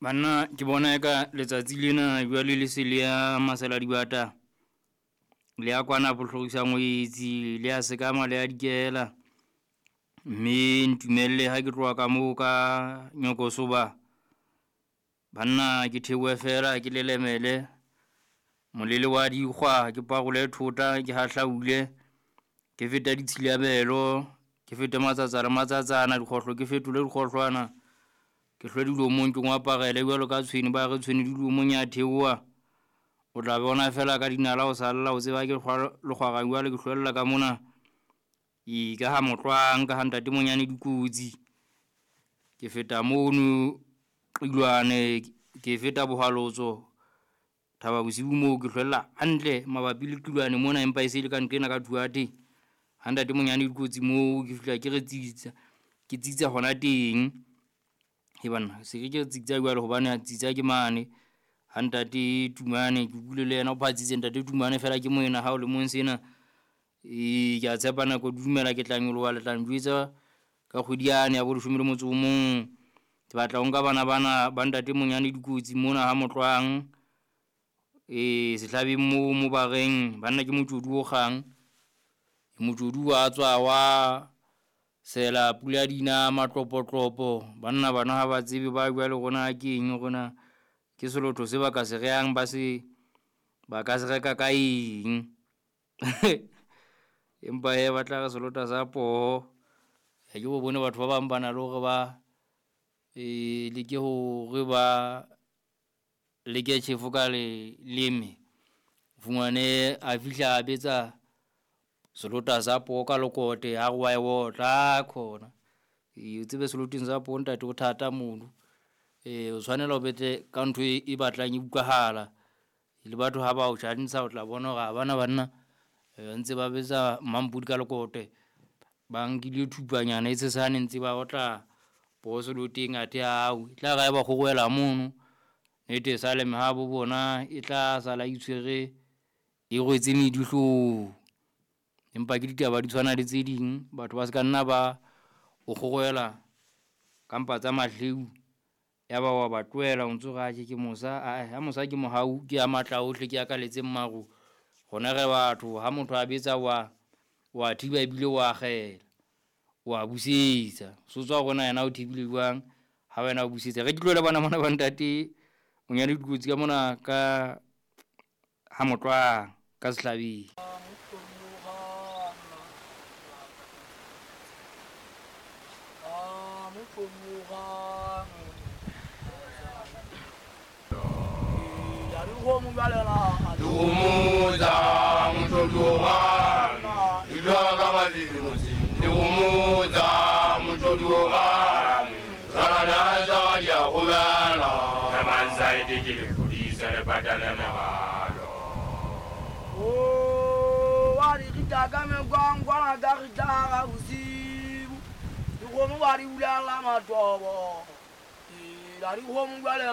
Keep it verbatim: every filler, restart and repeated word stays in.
Banna ke bona eka letsatsi lena jwale le se le ya masela dibata, le ya kwana bohlorisa ngwetsi, le ya sekama le ya dikela. Mme ntumelle ha ke tloha ka moo ka Nyokosoba, banna ke theohe fela ke lelemele molele wa dikgwa, ke parole thota, ke hahlaule, ke fete ditshilamelo, ke fete matsatsa le matsatsana, dikgohlo ke fetole dikgohlwana. Ke hlwe dilomong ke ngwaparele jwalo ka tshwene, ba re tshwene dilomong ya theoha. O tla bona fela ka dinala o salla, o tseba ke hlwa lekgwara jwale ke hlwella ka mona. E ka ha Motlwang ka ha ntate Monyane dikotsi. Ke feta mono Qilwane, ke feta Bohwalotso, Thaba Bosiu moo ke hlwella hantle mabapi le Qilwane mona, empa e se le ka nqena ka Thuate. Ha ntate Monyane dikotsi moo ke fihla ke re tsitsa, ke tsitsa hona teng. He banna se ke ke re tsitsa jwale hobane tsitsa ke mane. Ha ntate Tumane ke utlwile le yena o phatsitse ntate Tumane fela ke moena hao le mong sena. E ke a tshepa nako di dumela ke tla nyoloha le tla njwetsa ka kgwedi yane ya bo leshome le motso o mong. Ke batla ho nka bana bana ba ntate Monyane dikotsi mona ha Motlwang. E sehlabeng moo mo ba reng banna ke motjodi o kgang. Motjodi wa tswa wa sela pula dina matlopotlopo. Banna bana ha ba tsebe ba jwale rona ke eng rona ke selotho se ba ka se rehang ba se ba ka se reka ka eng. Empa he ba tla re selota sa poho. Ha ke bo bone batho ba bang ba na le hore ba e leke hore ba leke tjhefo ka leleme. Fumane a fihla a betsa selota sa poho ka lekote, a re wa e otla khona. E o tsebe seloteng sa poho ntate ho thata mono. E o tshwanela o betse ka ntho e batlang e utlwahala. Le batho ha ba o tjhantsha o tla bona hore ha bana banna ntse ba betsa mampodi ka lekote. Ba nkile thupanyana e tshesane ntse ba otla poho seloteng athe ao e tla re ha ba kgorohela mono, nnete e sale mehabo bona e tla sala itshwere e rwetse medi hloohong. Empa ke ditaba di tshwana le tse ding, batho ba ska nna ba o kgorohela ka mpa tsa mahleu, ya ba wa ba tlohela o ntso re atjhe ke mosa. Ae ha mosa ke mohau, ke ya matla ohle, ke ya kaletseng maru. Rona re batho ha motho a betsa wa wa thiba ebile wa akgela, wa busetsa. So tswa hore na yena o thibile jwang ha wena o busetsa. Re ke tlohele bana mona ba ntate Monyane dikotsi ka mona ka ha Motlwang ka Sehlabeng. Dikgomo tsa motjodi di dula ka balemi motseng. Dikgomo tsa motjodi tsana tsa di a gobela. Mansaete ke lepodisa le patale mogalo. O wa di rita ka mekwankwana ka rita ga bosibu. Dikgomo wa di bulela matobo. La dikgomo jwale.